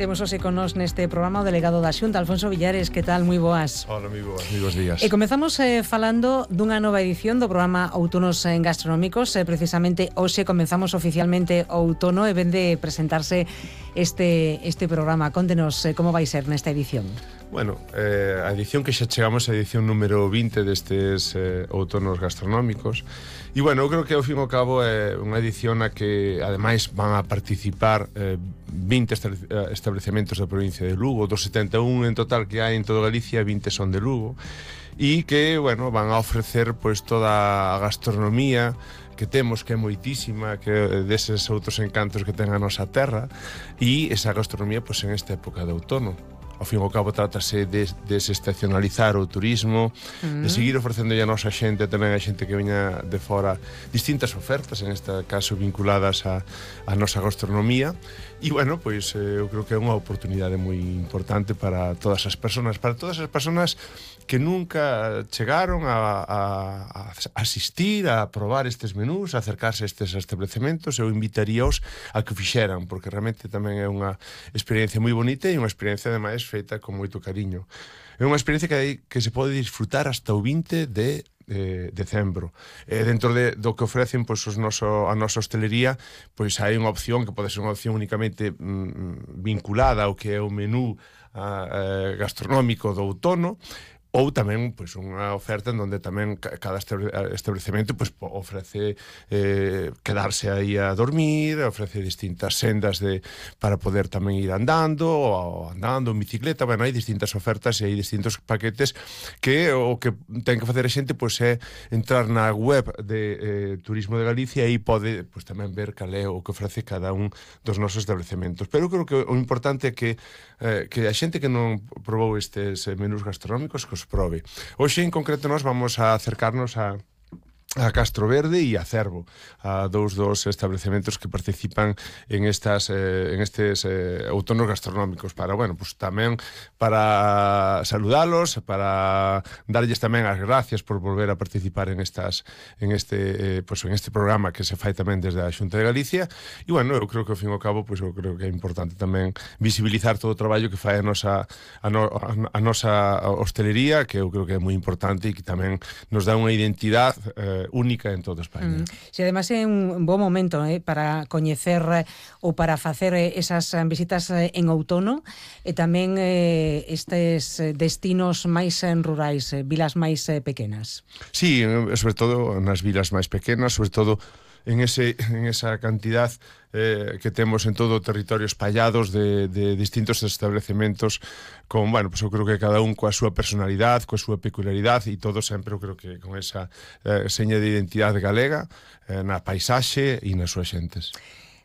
Temos hoxe con nós neste programa o delegado da Xunta, Alfonso Villares. Que tal? Moi boas. Hola, moi bons días. E comezamos falando dunha nova edición do programa Outonos Gastronómicos. Precisamente hoxe comenzamos oficialmente o outono e ven de presentarse este programa. Contenos como vai ser nesta edición. Bueno, a edición que xa chegamos a edición número 20 destes outonos gastronómicos. E bueno, eu creo que ao fin e ao cabo é unha edición na que ademais van a participar 20 establecementos da provincia de Lugo, dos 71 en total que hai en toda Galicia, 20 son de Lugo, e que, bueno, van a ofrecer pois toda a gastronomía que temos, que é moitísima, que deses outros encantos que ten a nosa terra, e esa gastronomía pois en esta época de outono. Ao fin e ao cabo trátase de desestacionalizar o turismo, de seguir ofrecendo a nosa xente, tamén a xente que veña de fora, distintas ofertas, en este caso vinculadas a nosa gastronomía. E, bueno, pois eu creo que é unha oportunidade moi importante para todas as persoas que nunca chegaron a asistir, a probar estes menús, a acercarse a estes establecementos. Eu invitaríaos a que o fixeran, porque realmente tamén é unha experiencia moi bonita e unha experiencia, ademais, feita con moito cariño. É unha experiencia que se pode disfrutar hasta o 20 de decembro. Dentro do que ofrecen pois, a nosa hostelería, pois hai unha opción que pode ser unha opción únicamente vinculada ao que é o menú gastronómico do outono, ou tamén pois unha oferta en donde tamén cada establecemento pois ofrece quedarse aí a dormir, ofrece distintas sendas para poder tamén ir andando en bicicleta. Bueno, hai distintas ofertas e hai distintos paquetes que o que ten que facer a xente pois é entrar na web de Turismo de Galicia e pode pois tamén ver cal é o que ofrece cada un dos nosos establecementos. Pero eu creo que o importante é que a xente que non probou estes menús gastronómicos que os prove. Hoxe en concreto nós vamos a acercarnos a Castro Verde e a Cervo, a dous dos establecementos que participan en estes outonos gastronómicos, para, bueno, pues tamén para saludalos, para darlles tamén as gracias por volver a participar en este programa que se fai tamén desde a Xunta de Galicia. E, bueno, eu creo que ao fin e ao cabo, eu creo que é importante tamén visibilizar todo o traballo que fai a nosa hostelería, que eu creo que é moi importante e que tamén nos dá unha identidade única en toda España. Si además é un bo momento para coñecer ou para facer esas visitas en outono e tamén estes destinos máis rurais, vilas máis pequenas. Sí, sobre todo nas vilas máis pequenas, sobre todo en esa cantidad que temos en todo o territorio espallados de distintos establecementos con, bueno, pues eu creo que cada un coa súa personalidade, coa súa peculiaridade e todo sempre eu creo que con esa seña de identidade galega na paisaxe e nas súas xentes.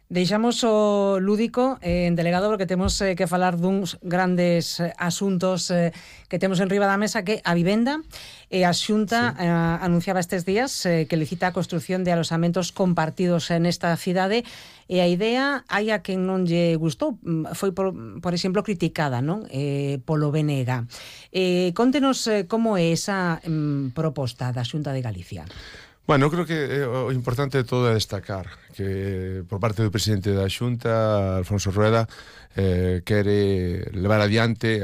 Deixamos o lúdico en delegado porque temos que falar duns grandes asuntos que temos en riba da mesa, que a vivenda. E a Xunta anunciaba estes días que licita a construción de alosamentos compartidos nesta cidade, e a idea, hai a quen non lle gustou, foi por exemplo criticada, non? Polo BNG. Contenos como é esa proposta da Xunta de Galicia. Bueno, eu creo que o importante de todo é destacar que por parte do presidente da Xunta, Alfonso Rueda, quere levar adiante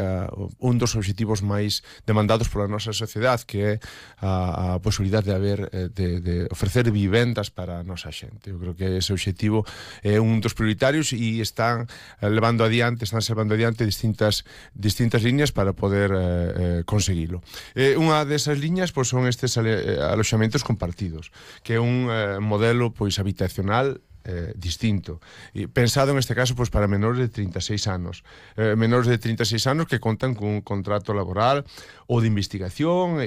un dos obxectivos máis demandados pola nosa sociedade, que é a posibilidade de ofrecer vivendas para a nosa xente. Eu creo que ese obxectivo é un dos prioritarios e están levando adiante distintas liñas para poder conseguilo. Unha desas liñas pois, son estes aloxamentos compartidos, que é un modelo pois habitacional distinto, e pensado en este caso pois, para menores de 36 anos que contan cun contrato laboral ou de investigación